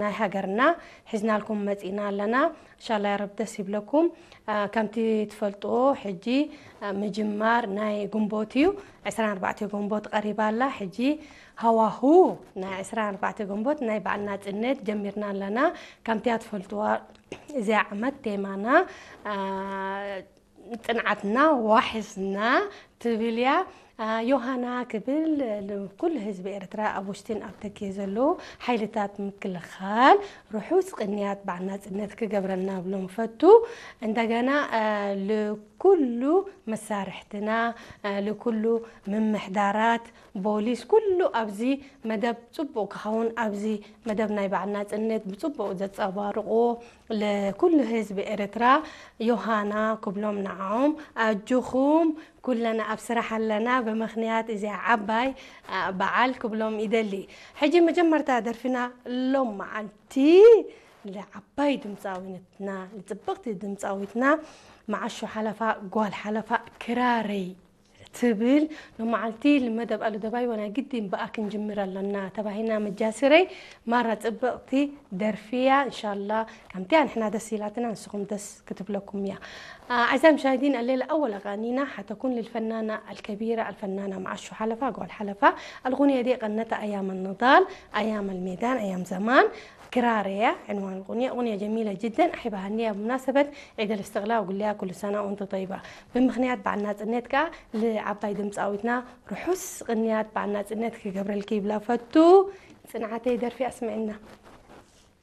ናይ ሃገርና ሒዝናልኩም መጺና ኣለና። እንሻላ ያ ረብ ደስ ይብለኩም። ከምቲ ትፈልጥዎ ሕጂ ምጅማር ናይ ግንቦት እዩ። ዕስራን ኣርባዕተ ግንቦት ቀሪባ ኣላ። ሕጂ ሃዋሁ ናይ ዕስራን ኣርባዕተ ግንቦት ናይ በዓል ናጽነት ጀሚርና ኣለና። ከምቲ ትፈልጥዋ እዚኣ ዓመት ቴማና ጽንዓትና ዋሕስና ትብል እያ። ዮሃና ክብል ንኩሉ ህዝቢ ኤርትራ ኣብ ውሽጥን ኣብ ደገ ዘለዉ ሓይልታት ምክልኻል ርሑስ ቅንያት በዓል ናጽነት ክገብረልና ብሎም ፈቱ። እንደገና ልኩሉ መሳርሕትና ልኩሉ ምምሕዳራት ቦሊስ ኩሉ ኣብዚ መደብ ጽቡቕ ክኸውን ኣብዚ መደብ ናይ በዓል ናጽነት ብጽቡቕ ዘጸባርቑ ለኩሉ ህዝቢ ኤርትራ ዮሃና ክብሎም ንዓኦም ኣጆኹም ኩለና ኣብ ስራሕ ኣለና ብምኽንያት እዚኣ ዓባይ በዓል ክብሎም ይደሊ። ሕጂ መጀመርታ ደርፊና ሎም መዓልቲ ለዓባይ ድምፃዊትና ለፅብቕቲ ድምፃዊትና መዓሾ ሓለፋ ጓል ሓለፋ ክራረይ ትብል ሎመዓልቲ ልመደብ ኣሉ ደባይ ወና ግድን ብኣ ክንጅምር ኣለና ተባሂና መጃስረይ ማራ ጽብቕቲ ደርፊያ እንሻላ ከምቲያ ንሕና ደስ ኢላትና ንስኹም ደስ ክትብለኩም እያ። أعزائي المشاهدين الليلة أول أغانينا حتكون للفنانة الكبيرة الفنانة معشو حلفة قول حلفة الأغنية دي غنتها أيام النضال أيام الميدان أيام زمان ክራረያ ዕንዋን ቁንያ ቁንያ ጀሚለ ጅደን ኣሒባ ሃንያ ብመናሰበት ዒድ ኣልእስትቕላል ወጉልያ ኩሉ ሰና ወንተ ጠይባ ብምኽንያት በዓል ናጽነት ከኣ ልዓባይ ድምፃዊትና ርሑስ ቅንያት በዓል ናጽነት ክገብረልኪ ይብላ ፈቱ ጽንዓተይ ደርፊ ኣስምዕና